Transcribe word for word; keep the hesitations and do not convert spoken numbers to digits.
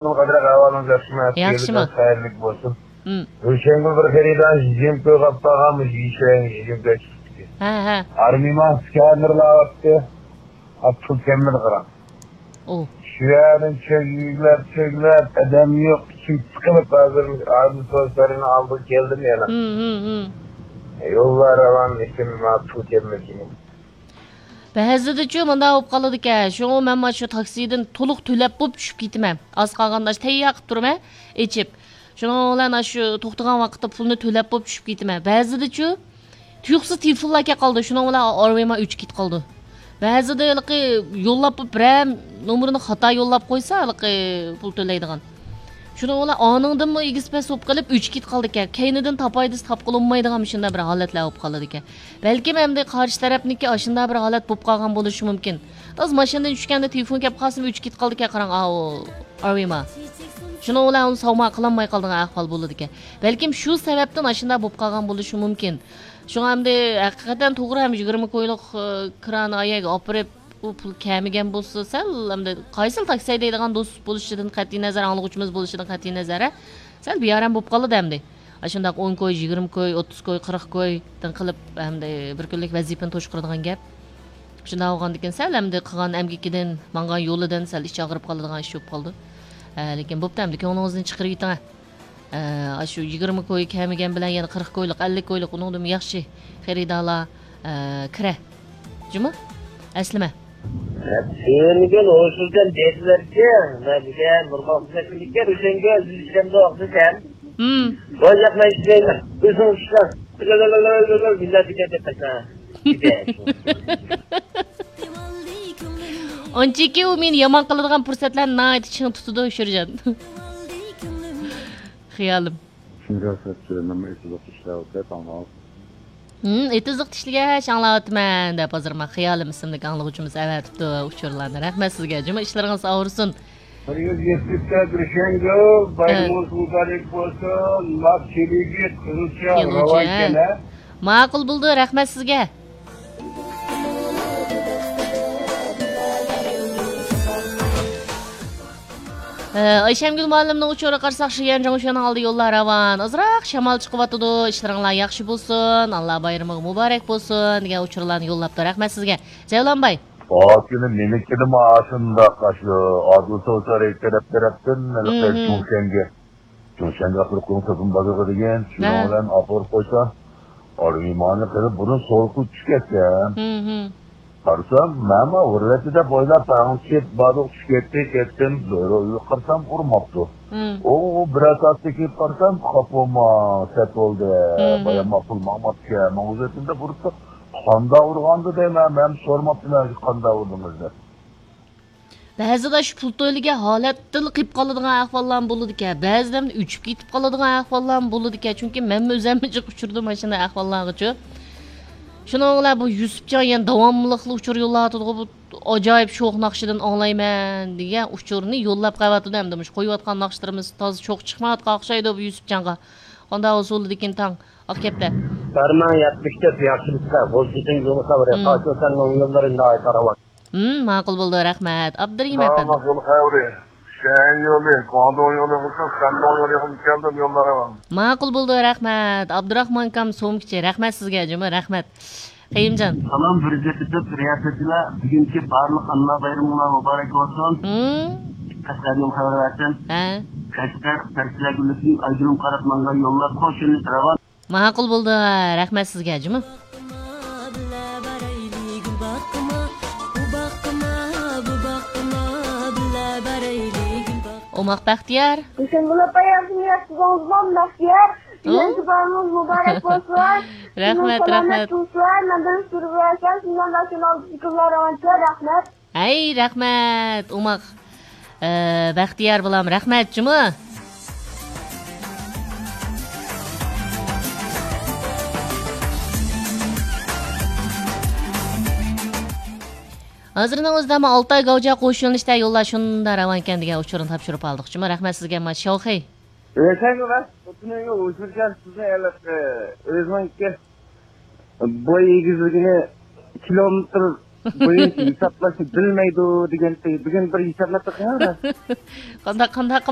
قادىر ئەھۋالىڭىز ياخشىمۇ؟ ياخشىمۇ؟ خەيرلىك بولسۇن. ھىم. ئۆشەڭگۈل بىر خېرىدار يىگىرمە كوي قاپتاغان، مۇشۇ يىگىرمە كوي چىقىپتىكەن. ھە، ھە. ئارمىما سكانېرلاۋاتتى. ھە، پۇل كەممىدى قاراڭ. ئۇ. شۇ يەردىن چۆگلەپ، چۆگلەپ، ئادەم يوق، ئىچىم سىقىلىپ، ھازىر ئادىل سوسلارنىڭ ئالدىغا كەلدىم يەنە. ھىم، ھىم، ھىم. يوللار راۋان، لېكىن ماڭا پۇل كەلمىدى. بەزىدىچۇ مۇنداق بولۇپ قالىدىكەن، شۇڭا مەن مانا شۇ تاكسىدىن تولۇق تۆلەپ بولۇپ چۈشۈپ كېتىمەن. ئاز قالغاندا تەييار قىلىپ تۇرىمەن، ئېچىپ. شۇنىڭ بىلەن ئاشۇ توختىغان ۋاقىتتا پۇلنى تۆلەپ بولۇپ چۈشۈپ كېتىمەن. بەزىدىچۇ تۇيۇقسىز تېلېفونلار كەپ قالىدۇ، شۇنىڭ بىلەن ئارمىما ئۆچۈپ كېتىپ قالىدۇ. بەزىدە ھېلىقى يوللاپ بولۇپ بىرەر نومۇرنى خاتا يوللاپ قويسا، ھېلىقى پۇل تۆلەيدىغان. شۇنىڭ بىلەن ئانىڭدىنمۇ ئېگىز پەس بولۇپ قېلىپ ئۆچۈپ كېتىپ قالىدىكەن. كەينىدىن تاپاي دېسە تاپقىلى بولمايدىغان مۇشۇنداق بىر ھالەتلەر بولۇپ قالىدىكەن. بەلكىم ئەمدى قارشى تەرەپنىڭكى ئاشۇنداق بىر ھالەت بولۇپ قالغان بولۇشى مۇمكىن. تازا ماشىنىدىن چۈشكەندە تېلېفون كەپ قالسىمۇ ئۆچۈپ كېتىپ قالىدىكەن، قاراڭ، ئاۋۇ ئارمىما. شۇنىڭ بىلەن ئۇنى ساۋما قىلالماي قالىدىغان ئەھۋال بولىدىكەن. بەلكىم شۇ سەۋەبتىن ئاشۇنداق بولۇپ قالغان بولۇشى مۇمكىن. شۇڭا ئەمدى ھەقىقەتەن توغرا ھەم يىگىرمە كويلۇق، ئى، كران ئايەگە ئاپىرىپ، ئۇ پۇل كەمىگەن بولسا، سەل ئەمدى قايسىلا تاكسى ھەيدەيدىغان دوست بولۇشىدىن قەتئىينەزەر، ئاڭلىغۇچىمىز بولۇشىدىن قەتئىينەزەر، سەل بىئارام بولۇپ قالىدۇ ئەمدى. ئاشۇنداق ئون كوي، يىگىرمە كوي، ئوتتۇز كوي، قىرىق كويدىن قىلىپ، ئەمدى بىر كۈنلۈك ۋەزىپىنى توشقۇرىدىغان گەپ. شۇنداق بولغاندىكىن سەل ئەمدى قىلغان ئەمگىكىدىن، ماڭغان يولىدىن سەل ئىچى ئاغرىپ قالىدىغان ئىش بولۇپ قالىدۇ. ئە، لېكىن بوپتۇ ئەمدى، كۆڭلىڭىزدىن چىقىرىۋېتىڭ. ئە، ئاشۇ يىگىرمە كوي كەمىگەن بىلەن يەنە قىرىق كويلۇق، ئەللىك كويلۇق، ئۇنىڭدىنمۇ ياخشى خېرىدارلار، ئە، كىرە. جۇمۇ؟ ئەسلىمە. سۆيۈنگەن ھوشۇزدىن دېدىلەركى، مەن دېگەن نورمال خىزمەتچىلىككە ئۆشەڭگە ئۆزى ئىشلەمدۇ دېسەم. ھىم. ۋاي ياق، مەن ئىشلەيمەن. ئۆزۈڭ ئىشلە. مىللەت دېگەن دەپ قاچا. ئانچىكى ئۇ مېنى يامان قىلىدىغان پۇرسەتلەرنى ناھايىتى چىڭ تۇتىدۇ، شۇرجان. خىيالىم. شۇنچە سەت سۆزلىمە ئېتىزلىق ئىشلەۋاتىدۇ، تاڭ. ھىم، ئېتىزلىق ئىشلىگەچ ئاڭلاۋاتىمەن دەپ، ھازىر مانا خىيالىم ئىسىملىك ئاڭلىغۇچىمىز ئەۋەتىپتۇ ئۇچۇرلارنى. رەھمەت سىزگە، جۇمۇ ئىشلىرىڭىز ئاغرىسۇن. بىر يۈز يەتمىش تۆت رۇشەنگۈل، ھە. بايرىمىڭىز مۇبارەك بولسۇن. ماك چېلىگى، قىزىلچا، يېڭىچە، راۋان ھە. ئىكەن، ھە. ماقۇل بولدى، رەھمەت سىزگە. ئە، ئايشەمگۈل مۇئەللىمنىڭ ئۇچۇرىغا قارىساق، شيەنجاڭ شۇنىڭ ئالدى يوللار راۋان. ئازراق شامال چىقىۋاتىدۇ. ئىشلىرىڭلار ياخشى بولسۇن، ئاللا بايرىمىغا مۇبارەك بولسۇن دېگەن ئۇچۇرلارنى يوللاپتۇ. رەھمەت سىزگە. جەۋلان باي. ئا، كۈنى مېنىڭكىدىمۇ ئاشۇنداق، ئاشۇ ئادىل سوسا تەرەپ، تەرەپتىن ھېلىقى مم. چۇڭشەنگە. چۇڭشەنگە ئاپىرىپ قويۇڭ، سوپۇن بازىرىغا دېگەن. شۇنىڭ ھە. بىلەن ئاپىرىپ قويسا، ئارمىمانى قىلىپ بۇرۇن سورۇقى چۈشۈپ كەتكەن. ھىم، ھىم. قارىسام، مەنمۇ ئۇرۇۋەتتى دەپ ئويلاپ، تەڭ چىپ بادۇق چۈشۈپ كەتتى، كەتتىم، زورۇ ئۆيگە قارىسام، ئۇرماپتۇ. ھىم. ئۇ، ئۇ بىرەر سائەتتىن كېيىن قارىسام، قاپۇرما سەت بولدى. ھىم، ھىم. بايام ماقۇل ماڭماپتىكەن، ماڭا ئۇزىتىم دەپ ئۇرۇپتۇ. قانداق ئۇرغاندۇ دەيمەن، مەنمۇ سورىماپتىمەن، قانداق ئۇردىڭىز دەپ. بەزىدە شۇ پۇل تۆلىگەن ھالەتتىن قېلىپ قالىدىغان ئەھۋاللارمۇ بولىدىكەن. بەزىدە ئۆچۈپ كېتىپ قالىدىغان ئەھۋاللارمۇ بولىدىكەن. چۈنكى مەنمۇ ئۆزۈممۇ جىق ئۇچرىدىم مانا شۇنداق ئەھۋاللارغىچۇ. شۇنىڭ بىلەن بۇ يۈسۈپجان يەنە داۋاملىقلا ئۇچۇر يوللاۋاتىدىغۇ، بۇ ئاجايىپ شوخ ناخشىدىن ئاڭلايمەن دېگەن ئۇچۇرنى يوللاپ قېلىۋاتىدۇ. ئەمدى مۇشۇ قويۇۋاتقان ناخشىلىرىمىز تازا چوق چىقمايۋاتقان ئوخشايدۇ بۇ يۈسۈپجانغا. قانداق ئۇسۇلىدىكىن تاڭ ئاق كەپتە. بەرمەڭ يەتمىش تۆت ياخشىلىققا، بولسىتىڭ يولىسا بىر. ھىم. قاچۇ سەننىڭ يوللىرىڭدا قاراۋات. ھىم، ماقۇل بولدى، رەھمەت. ئابدۇرېھىم ئەپەندى. يول خەۋىرى. شەيەن يولى، گۇاڭدۇڭ يولى بولسا، شەندۇڭ يولى يېقىن كەلدىم يوللار راۋان. ماقۇل بولدى، رەھمەت. ئابدۇراخمان ئاكام سومكىچى، رەھمەت سىزگە، جۇمۇ رەھمەت. قېيۇمجان. سالام، بىر يۈز يەتمىش تۆت رىياسەتچىلەر، بۈگۈنكى بارلىق ئانىلار بايرىمىڭلار مۇبارەك بولسۇن. ھىم. قەشقەردىن خەۋەر بەرسەم. ھە. قەشقەر تەكسىلەر گۈللۈكىدىن ئايگۈلۈم قاراپ ماڭغان يوللار قوش يۆنىلىش راۋان. ماقۇل بولدى، رەھمەت سىزگە، جۇمۇ. ئوماق بەختىيار. ھۈسەنگۈل ئاپا، ياخشىمۇ، ياخشى بولدىڭىزمۇ؟ بەختىيار، ھە؟ بۈگۈنكى بايرىمىڭىز مۇبارەك بولسۇن. رەھمەت، سالامەت رەھمەت. تۇرسۇن. مەندىن سۈرۈۋەرسەڭ، شۇنداق ناشۇنالدىكىلار راۋانچە، رەھمەت. ھەي، رەھمەت، ئوماق. ئە، بەختىيار بالام، رەھمەت جۇمۇ. ھازىرنىڭ ئۆزىدە مانا ئالتاي گاۋجا قوش يۆنىلىشتە يوللار شۇنداق راۋانكەن دېگەن ئۇچۇرنى تاپشۇرۇپ ئالدۇق جۇمۇ. رەھمەت سىزگە، ما شاۋخەي. ئۆزەڭگە ۋە خوتۇنۇڭغا ئۇچۇركەن سىزنى ئېلىپ، ئۆزىنىڭكى بوي ئېگىزلىكىنى كىلومېتىر بويىچە ھېسابلاشنى بىلمەيدۇ دېگەنتى. بۈگۈن بىر ھېسابلاپ بېقىڭ. قانداق قانداق